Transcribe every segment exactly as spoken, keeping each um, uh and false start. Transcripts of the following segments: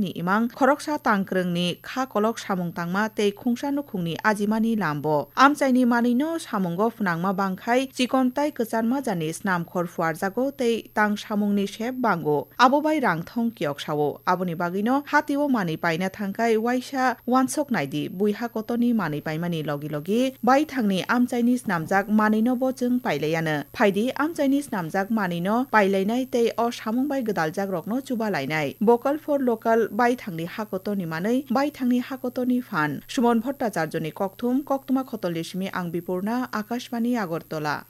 ni imang khoroksa tangkwrwngni kha kolok samung tangma tei khungsa nukhungni ajimani lambo. Amchaini manwino samungo phnangma bangkhai chikon tai kwcharma jani snam khor phuarjago tei tang samungni sep bango. Abo bai rang thong kiyok sao. Aboni bagwino hatio manwi paina thangkhai waisa wansok naidi, bui hakotoni manwi paimani logi logi baithangni amchaini snamjak manwino bo chwng pailaiano. Phaidi amchaini snamjak manwino pailainai tei o samung bai gwdaljakrokno chubalainai. Vocal for Local, baithangni hakotoni manwi, baithangni hakotoni phan. Suman Bhattacharjoni kokthum, koktwma khotolni simi ang Bipurna, Akashbani Agartala.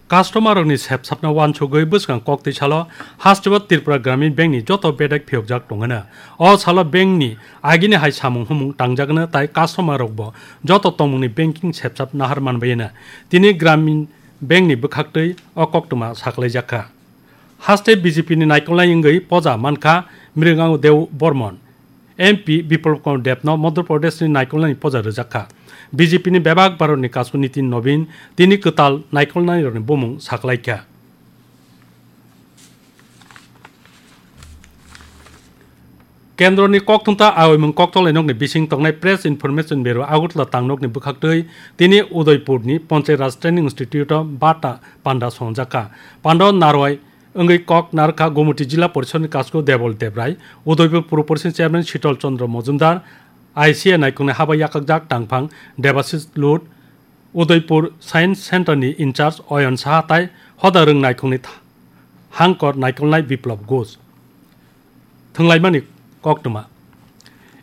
Customer rokni sepsapna wansugwi bwskang koktwi salo hasteo Tripura Gramin Bank ni joto bedek phiyokjak tongwino. O salo bank ni agini hai samung humung tangjagwino tai customer rokbo joto tongmungni banking sepsap nahar manbaino. Tini Gramin Bank ni bwkhaktwi o koktwma saklaijak kha. Haste B J P ni naikolnai wngwi poja mankha Mrigango Deo Bormon. M P Biplab Kumar Debno Madhya Pradesh ni naikolnani poja rwjak kha. B J P ni bebak Bharat ni kasku Nitin Nobin tini kwtal naikolnai rokni bumung saklaikha. Kendroni kokthumta aoimung koktwlainokni bising tongnai Press Information Bureau Agartala tangnokni bwkhaktwi tini Udaipurni Panchayat Raj Training Institute o bata panda songjakha. Panda o narwai wngwi kok narwkha Gomoti Jila Porishodni kasku Debol Debrai, Udaipur Puro Porishodni Chairman Shitol Chandra Majumdar, I C A naikungni habai yakakjak tangphang Debashis Lut, Udaipur Science Center ni in-charge Oyon Saha tai hoda rwng naikungni tha-, hangkor naikolnai Biplab Ghosh. Thwnglaimani koktwma.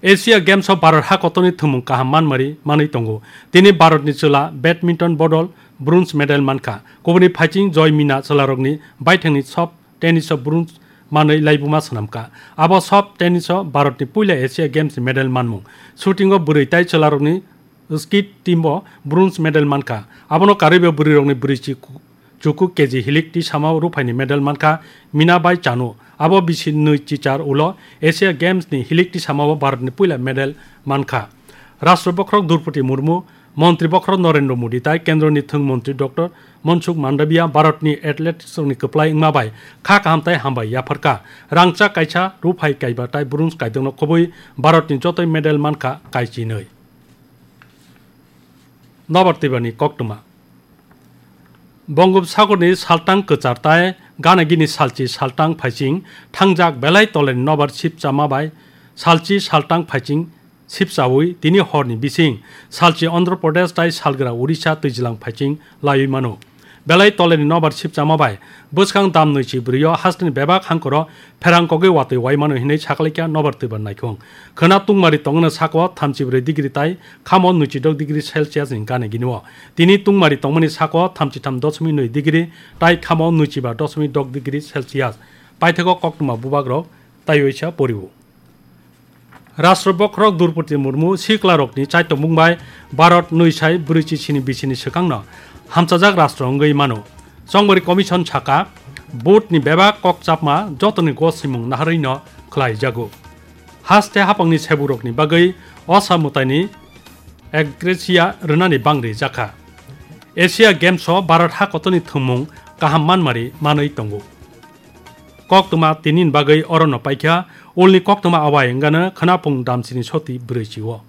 Asia Games o Bharat hakotoni thwngmung kaham manmari manwi tongo. Tini Bharatni chwla badminton bodol bronze medal mankha. Kubuni phaiching Joy Mina chwlarokni baithangni soft tennis o bronze manwi laibuma swnamkha. Abo soft tennis o Bharatni puila Asia Games ni medal manmung. Shooting o bwrwi tai chwlarokni skit team o bronze medal mankha. Abono karwibo bwrwirokni bwrwi chi-, chuku K G hilik tisamao ruphaini medal mankha Mina bai Chanu. Abo bisi nwi chichar ulo Asia Games ni hilik tisamao Bharatni puila medal mankha. Rashtra Bokhorok Droupadi Murmu, Montri Bokhorok Narendra Modi tai Kendroni Thwng Montri Doctor Mansukh Mandaviya Bharatni athletics rokni kwplai wngma bai kha kaham tai hambai yapharkha. Rangchak kaisa ruphai kaiba tai bronze kaidokno khobwi Bharatni jotoi medal mankha kaichinwi. Nobar twibani koktwma. Bongopsagorni saltang kwchar tai gana gini salchi saltang phaiching thangjak belai toleni nobar sipchama bai salchi saltang phaiching sipchaui tini horni bising salchi Andhra Pradesh tai salgra Odisha twijlang phaiching laiwi mano. Belai toleni nobar sipchama bai bwskang dam nwichi bwrwio hasteni bebak hangkoro pherang kogwi watwi wai mano hinwi saklaikha nobar twibani naikhung. Khwna tungmari tongno sako thamchi brwi degree tai khamo nwichi dok degree Celsius ni gana ginio. Tini tungmari tongmani sako thamchi tham doshmik nwi degree tai khamo nwichi ba doshmik dok degree Celsius. Paithago koktwma bubagrok taiwi sa porio. Rashtra Bokhorok Droupadi Murmu siklarokni chaitokmung bai Bharat nwi sai brwichi sini bisini swkangno hamchajak rashtra wngwi mano. Chongmari Commission saka, vote ni bebak kok chapma jotoni gosrimung naharwino khlaijago. Haste hapangni seburokni bagwi osa mwtaini agresia rwnani bangri jakha. Asia Games o Bharat hakotoni thwngmung kaham manmari manwi tongo. Koktwma tinini bagwi orono paikha, ulni koktwma awai wngano khwnaphung damsini soti brwichi o.